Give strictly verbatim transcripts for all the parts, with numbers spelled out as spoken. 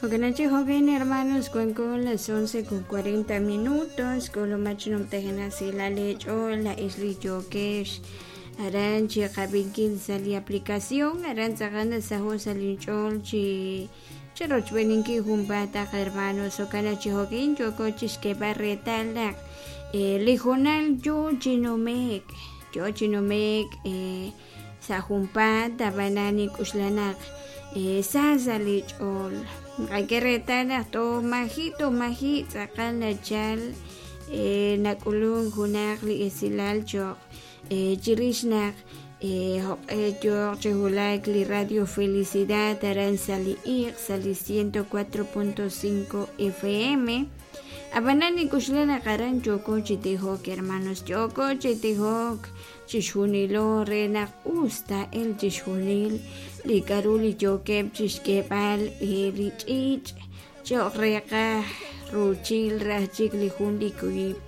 Jo'kanachi jo'kin hermanos wanko las once con cuarenta minutos k'ulumach numtajenaq silal eech'ool la'ex li yookex aran chi qab'inkil sa' li aplicación aran tz'aqal nasaho' sa' linch'ool chi chirochb'eeninkil junpaat hermanos jo'kan naq chi jo'kin yooko chixk'eeb'al reetal naq li hoonal yoo chi nume'k yoo chi nume'k sa' junpaat ab'anan nink'uxla naq sa sa' li ch'ool nqak'e reetal naq toj maji' toj maji' tz'aqal nachal nak'ulunk junaq li esilal cho'q chirix naq joq'e yooq chi wulak li Radio Felicidad aran sa' li iq' sa' li ciento cuatro punto cinco F M ab'anan nink'uxla naq aran yooko chi tijok hermanos yooko chi tijok chixjunilo re naq us taa'el chixjunil li k'a'ru li yookeb' chixk'eeb'al li ch'iich' cho'q reeqaj ruuchil raj chik li jun li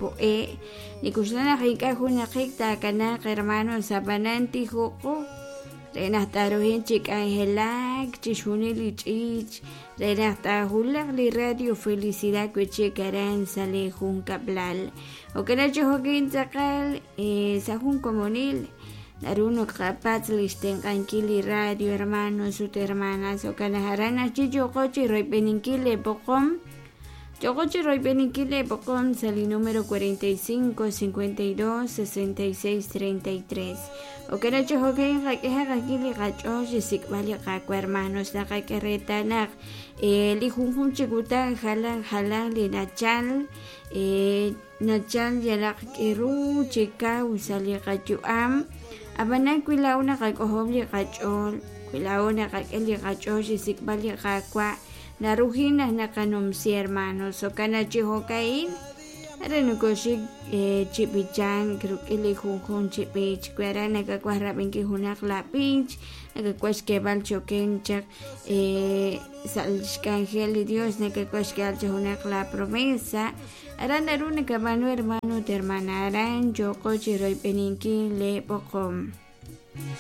po'e' nik'uxla naq ink'a' junaqik taakanaaq hermanos ab'anan tijoqo re naq taaruhin chi k'anjelak chixjunil li ch'iich' re naq taajulaq li Radio Felicidad wi'chik aran sa' li junkab'lal jo'kan chi jo'kin tz'aqal sa' jun komonil naru naqapatz' li xtenq'ankil li radio hermanos ut hermanas jo'kan naq aran ajchi yooko chi royb'eninkil leepoqom yooko chi royb'eninkil leepoqom sa' li número cuarenta y cinco, cincuenta y dos, sesenta y seis, treinta y tres jo'kan naq chi jo'kin qak'ehaq ajwi' li qach'ool xsik'b'al li qawa hermanos naqak'e reetal naq li junjunq chi kutan jalan jalan li nachal nachal yalaq k'iru chi kaw sa' li qayu'am ab'anan wi laa'o naqak'ojob' li qach'ool wi laa'o naqak'e li qach'ool xsik'b'al li qawa narujin naq naqanumsi hermanos jo'kan naq chi jo'ka'in aran nokoxik chi b'ichank rik'in li junjunq chi b'ich wi aran nakawaj rab'inkil junaq la b'ich nakawaj xk'eeb'al choken chaq sa' xk'anjel li Dios nakawaj xk'eeb'al chi junaq la promesa aran naru nakab'aanu hermano ut hermana aran yooko chi royb'eninkil leepoqom.